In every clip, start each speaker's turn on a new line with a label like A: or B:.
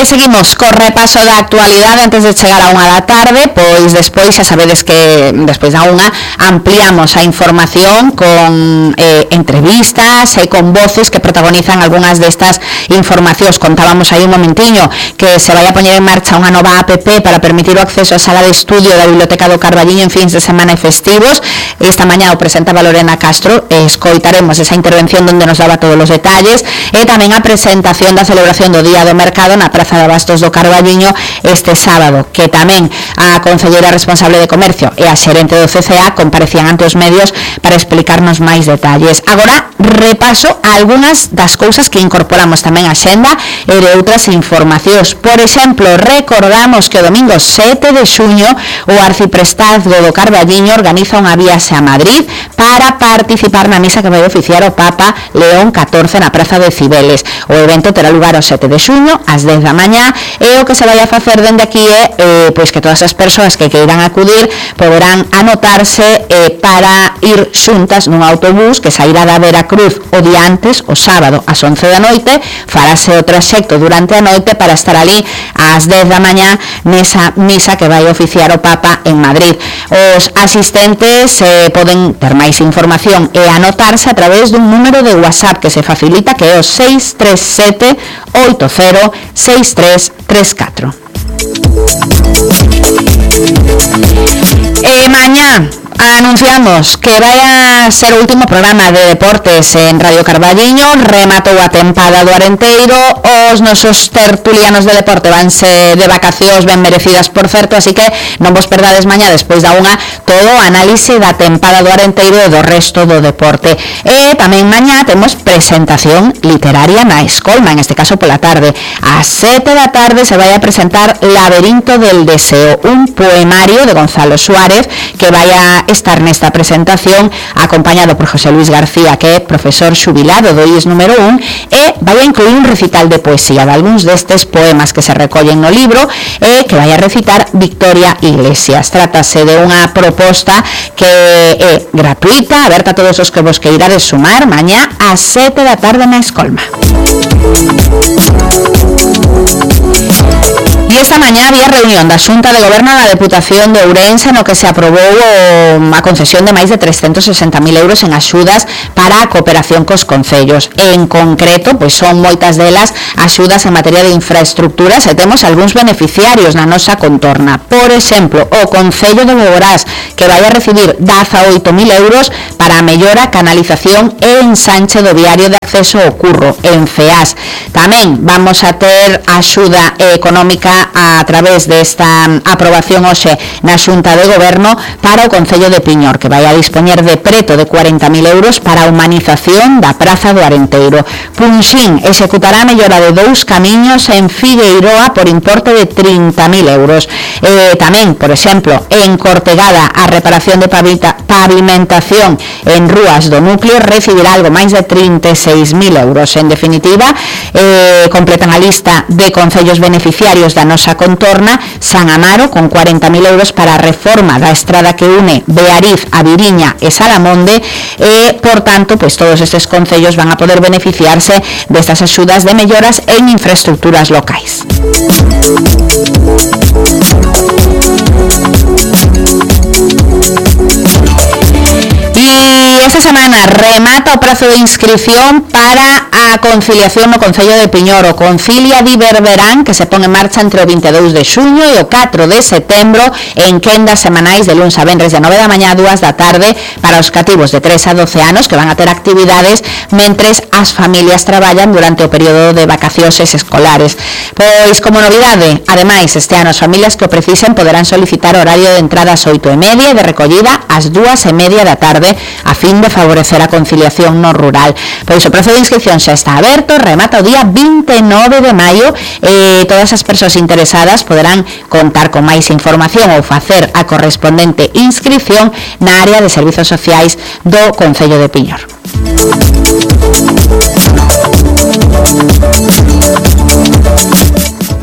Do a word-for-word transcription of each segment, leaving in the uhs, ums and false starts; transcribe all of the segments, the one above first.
A: E seguimos co repaso da actualidade antes de chegar a unha da tarde, pois despois xa sabedes que despois da unha ampliamos a información con eh, entrevistas e con voces que protagonizan algunhas destas informacións. Contábamos aí un momentiño que se vai a poñer en marcha unha nova app para permitir o acceso á sala de estudio da Biblioteca do Carballiño en fins de semana e festivos. Esta mañá o presentaba Lorena Castro e escoitaremos esa intervención onde nos daba todos os detalles e tamén a presentación da celebración do Día do Mercado na Praza de Abastos do Carballiño este sábado, que tamén a concelleira responsable de Comercio e a xerente do C C A comparecían ante os medios para explicarnos máis detalles. Agora repaso a algunhas das cousas que incorporamos tamén á xenda e de outras informacións. Por exemplo, recordamos que o domingo sete de xuño o arciprestazgo do Carballiño organiza unha viaxe a Madrid para participar na misa que vai oficiar o Papa León catorce na Praza de Cibeles. O evento terá lugar o sete de xuño ás dez da mañá e o que se vai a facer dende aquí é eh, pois que todas as persoas que queiran acudir poderán anotarse eh, para ir xuntas nun autobús que sairá da Veracruz o día antes, o sábado ás once da noite, farase o traxecto durante a noite para estar ali ás dez da mañá nesa misa que vai oficiar o Papa en Madrid. Os asistentes eh, poden ter máis información e anotarse a través dun número de WhatsApp que se facilita, que é o seis tres sete oito cero seis tres tres catro. E mañá anunciamos que vai a ser o último programa de deportes en Radio Carballiño. Rematou a tempada do Arenteiro, os nosos tertulianos de deporte vanse de vacacións ben merecidas, por certo, así que non vos perdades mañá despois da unha todo o análise da tempada do Arenteiro e do resto do deporte. E tamén mañá temos presentación literaria na Escolma, en este caso pola tarde. A sete da tarde se vai a presentar Laberinto del Deseo, un poemario de Gonzalo Suárez que vai a estar nesta presentación acompañado por José Luis García, que é profesor xubilado do I E S número un, e vai a incluir un recital de poesía de algúns destes poemas que se recollen no libro e que vai a recitar Victoria Iglesias. Trátase de unha proposta que é gratuita, aberta a todos os que vos queirades sumar mañá ás sete da tarde na Escolma. E esta mañá había reunión da Xunta de Goberno da Deputación de Ourense no que se aprobou a concesión de máis de trescentos sesenta mil euros en axudas para a cooperación cos concellos. En concreto, pois son moitas delas axudas en materia de infraestructuras e temos algúns beneficiarios na nosa contorna. Por exemplo, o Concello de Boborás, que vai a recibir dezaoito mil euros para a mellora, canalización e ensanche do viario de acceso ao Curro, en FEAS. Tamén vamos a ter axuda económica a través desta aprobación hoxe na Xunta de Goberno para o Concello de Piñor, que vai a dispoñer de preto de cuarenta mil euros para a humanización da Praza do Arenteiro. Punxín executará a mellora de dous camiños en Figueiroa por importe de trinta mil euros. E tamén, por exemplo, en Cortegada, a reparación de pavimentación en rúas do núcleo recibirá algo máis de trinta e seis mil euros. En definitiva, eh, completan a lista de concellos beneficiarios da nosa contorna: San Amaro con cuarenta mil euros para a reforma da estrada que une Beariz a Viriña e Salamonde e, por tanto, pois todos estes concellos van a poder beneficiarse destas axudas de melloras en infraestructuras locais. E esta semana remata o prazo de inscripción para a conciliación no Concello de Piñor. O Concilia di Berberán, que se pon en marcha entre o vinte e dous de xuño e o catro de setembro en quendas semanais de luns a venres de nove da mañá a dúas da tarde para os cativos de tres a doce anos, que van a ter actividades mentres as familias traballan durante o período de vacacións escolares. Pois, como novidade, ademais, este ano as familias que o precisen poderán solicitar horario de entrada ás oito e media e de recollida ás dúas e media da tarde a fin de favorecer a conciliación no rural. Pois o prazo de inscripción xa está aberto, remata o día vinte e nove de maio e todas as persoas interesadas poderán contar con máis información ou facer a correspondente inscripción na área de servizos sociais do Concello de Piñor.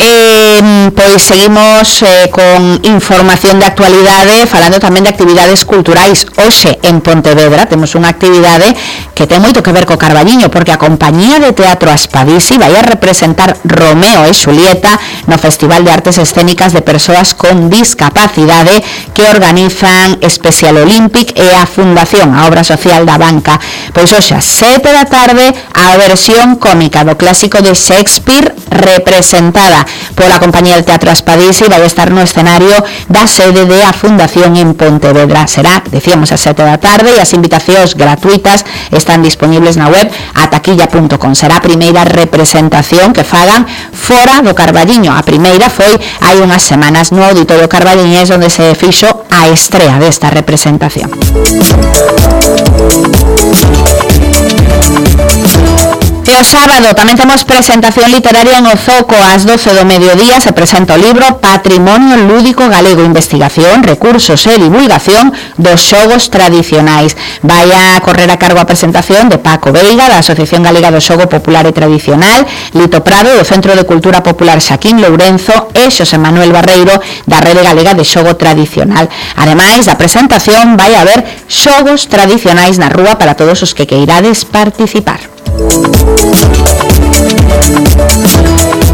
A: E, pois Pois seguimos eh, con información de actualidade, falando tamén de actividades culturais. Hoxe en Pontevedra temos unha actividade que ten moito que ver co Carballiño, porque a compañía de teatro Aspadisi vai a representar Romeo e Xulieta no Festival de Artes Escénicas de Persoas con Discapacidade que organizan Special Olympic e a Fundación, a obra social da banca. Pois hoxe a sete da tarde a versión cómica do clásico de Shakespeare representada pola compañía de teatro Aspadisi vai estar no escenario da sede de a Fundación en Pontevedra. Será, decíamos, a sete da tarde e as invitacións gratuitas están disponibles na web ataquilla punto com. Será a primeira representación que fagan fora do Carballiño. A primeira foi hai unhas semanas no Auditorio Carballiñés, onde se fixo a estrea desta representación. E o sábado tamén temos presentación literaria en Ozoco. Ás doce do mediodía se presenta o libro Patrimonio Lúdico Galego, investigación, recursos e divulgación dos xogos tradicionais. Vai a correr a cargo a presentación de Paco Veiga, da Asociación Galega do Xogo Popular e Tradicional, Lito Prado, do Centro de Cultura Popular Xaquín Lourenzo e Xosé Manuel Barreiro, da Rede Galega de Xogo Tradicional. Ademais da presentación vai haber xogos tradicionais na rúa para todos os que queirades participar.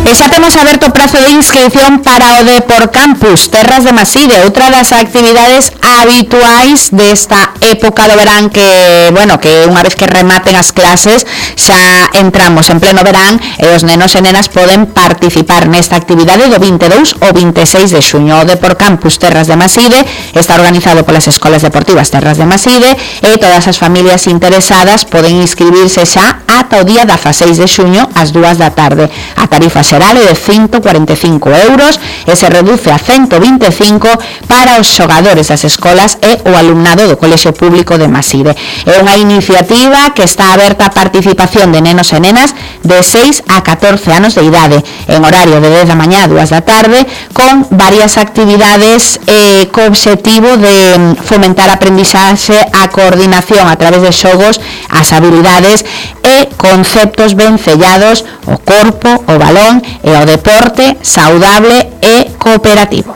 A: E xa temos aberto o prazo de inscripción para o Depor Campus Terras de Maside, outra das actividades habituais desta época do verán que, bueno, que unha vez que rematen as clases xa entramos en pleno verán e os nenos e nenas poden participar nesta actividade do vinte e dous ao vinte e seis de xuño. O Depor Campus Terras de Maside está organizado polas Escolas Deportivas Terras de Maside e todas as familias interesadas poden inscribirse xa ata o día dezaseis de xuño ás dúas da tarde. A tarifa xeral é de ciento cuarenta e cinco euros e se reduce a ciento vinte e cinco para os xogadores das escolas e o alumnado do Colexio Público de Maside. É unha iniciativa que está aberta a participación de nenos e nenas de seis a catorce anos de idade, en horario de dez da mañá a dúas da tarde, con varias actividades eh, co obxectivo de fomentar a aprendizaxe, a coordinación a través de xogos, as habilidades e conceptos ben sellados, o corpo, o balón e o deporte saudable e cooperativo.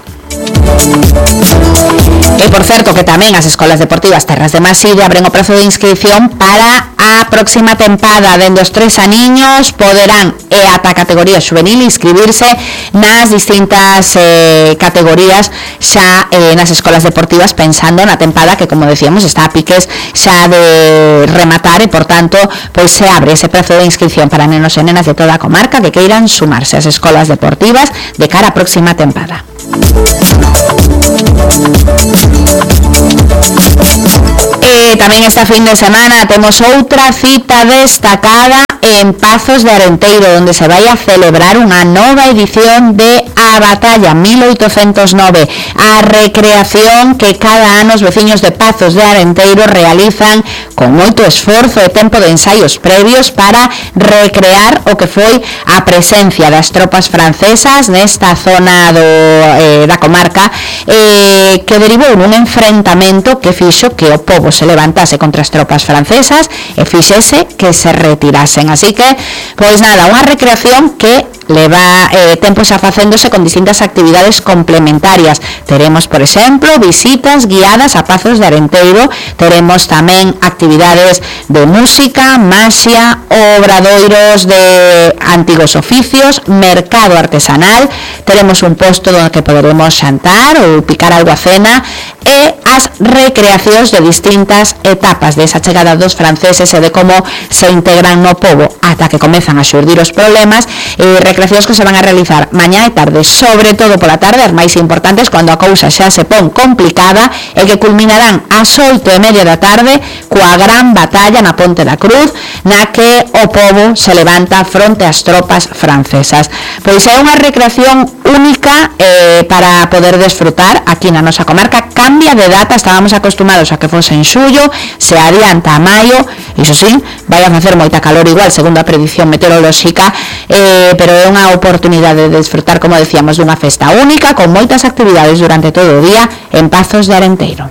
A: E por certo que tamén as Escolas Deportivas Terras de Maside abren o prazo de inscripción para a próxima tempada. Dende os tres aniños poderán e ata a categoría juvenil inscribirse nas distintas eh, categorías xa eh, nas escolas deportivas, pensando na tempada que, como decíamos, está a piques xa de rematar e, por tanto, pois se abre ese prazo de inscripción para nenos e nenas de toda a comarca que queiran sumarse ás escolas deportivas de cara á próxima tempada. E tamén esta fin de semana temos outra cita destacada en Pazos de Arenteiro, onde se vai a celebrar unha nova edición de A Batalla mil oitocentos nove, a recreación que cada ano os veciños de Pazos de Arenteiro realizan con moito esforzo e tempo de ensaios previos para recrear o que foi a presencia das tropas francesas nesta zona do, eh, da comarca, eh, que derivou nun enfrentamento que fixo que o pobo se levantase contra as tropas francesas e fixese que se retirasen. Así que, pois nada, unha recreación que leva eh, tempo xa facéndose con distintas actividades complementarias. Teremos, por exemplo, visitas guiadas a Pazos de Arenteiro, teremos tamén actividades de música, maxia, obradoiros de antigos oficios, mercado artesanal, teremos un posto onde que poderemos xantar ou picar algo a cena, e as recreacións de distintas etapas desa chegada dos franceses e de como se integran no pobo ata que comezan a xurdir os problemas, e recreacións que se van a realizar mañá e tarde, sobre todo pola tarde, as máis importantes cando a cousa xa se pon complicada, e que culminarán ás oito e media da tarde coa gran batalla na Ponte da Cruz, na que o pobo se levanta fronte ás tropas francesas. Pois é unha recreación única eh, para poder desfrutar aquí na nosa comarca. Cambia de data, estábamos acostumados a que fose en xullo, se adianta a maio, iso sí, vai a facer moita calor igual, segundo a predición meteorolóxica, eh, pero é unha oportunidade de desfrutar, como decíamos, dunha festa única, con moitas actividades durante todo o día en Pazos de Arenteiro.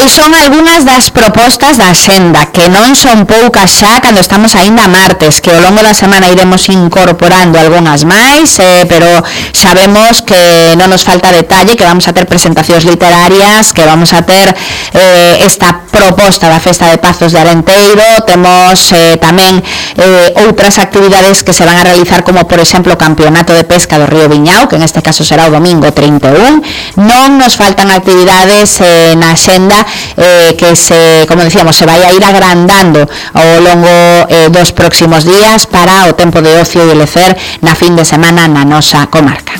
A: Pois son algunhas das propostas da Axenda, que non son poucas xa cando estamos aínda a martes, que ao longo da semana iremos incorporando algunhas máis, eh, pero sabemos que non nos falta detalle, que vamos a ter presentacións literarias, que vamos a ter eh, esta proposta da Festa de Pazos de Arenteiro, temos eh, tamén eh, outras actividades que se van a realizar, como por exemplo o Campeonato de Pesca do Río Viñao, que en este caso será o domingo trinta e un. Non nos faltan actividades eh, na Axenda eh, que se, como decíamos, se vai a ir agrandando ao longo eh, dos próximos días para o tempo de ocio e de lecer na fin de semana na nosa comarca.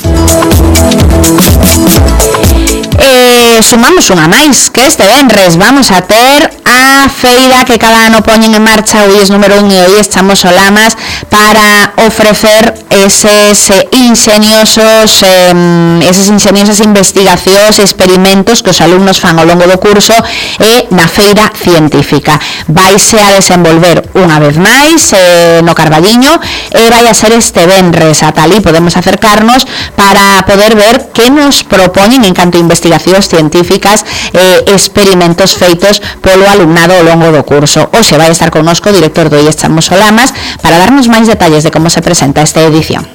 A: Eh, sumamos unha máis, que este venres vamos a ter a feira que cada ano poñen en marcha, hoy es número un e hoy estamos Solamas, para ofrecer eses eh, ingeniosos eh, esas ingeniosas investigacións e experimentos que os alumnos fan ao longo do curso e na feira científica. Vaise a desenvolver unha vez máis eh, no Carballiño e vai a ser este venres. Ata ali podemos acercarnos para poder ver que nos propoñen en canto a investigacións científicas e eh, experimentos feitos polo alumnado ao longo do curso. Hoxe vai estar connosco o director do I E S Chamos Solamas para darnos máis detalles de como se presenta esta edición.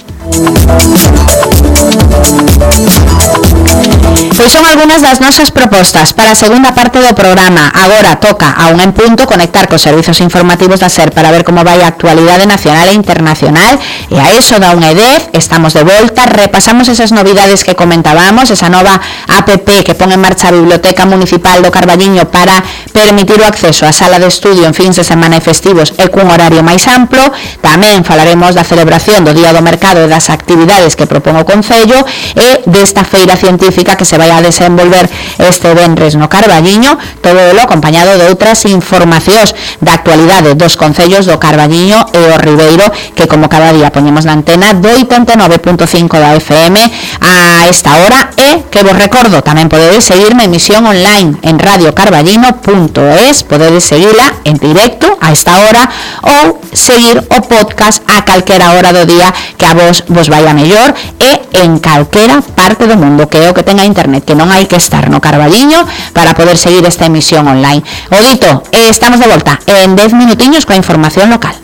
A: Pois son algunhas das nosas propostas para a segunda parte do programa. Agora toca a un en punto conectar cos servizos informativos da SER para ver como vai a actualidade nacional e internacional, e a eso da unha e dez estamos de volta, repasamos esas novidades que comentábamos, esa nova app que pon en marcha a Biblioteca Municipal do Carballiño para permitir o acceso á sala de estudio en fins de semana e festivos e cun horario máis amplo. Tamén falaremos da celebración do Día do Mercado e das actividades que propón o Concello e desta feira científica que se vai a desenvolver este venres no Carballiño, todo elo acompañado de outras informacións da actualidade dos concellos do Carballiño e o Ribeiro, que como cada día poñemos na antena do oitenta e nove punto cinco da F M a esta hora, e que vos recordo, tamén podedes seguir na emisión online en radio carballino punto es, podedes seguila en directo a esta hora ou seguir o podcast a calquera hora do día que a vos vos vai a mellor e en calquera parte do mundo, que é o que tenga internet, que non hai que estar no Carballiño para poder seguir esta emisión online. O dito, estamos de volta en dez minutiños coa información local.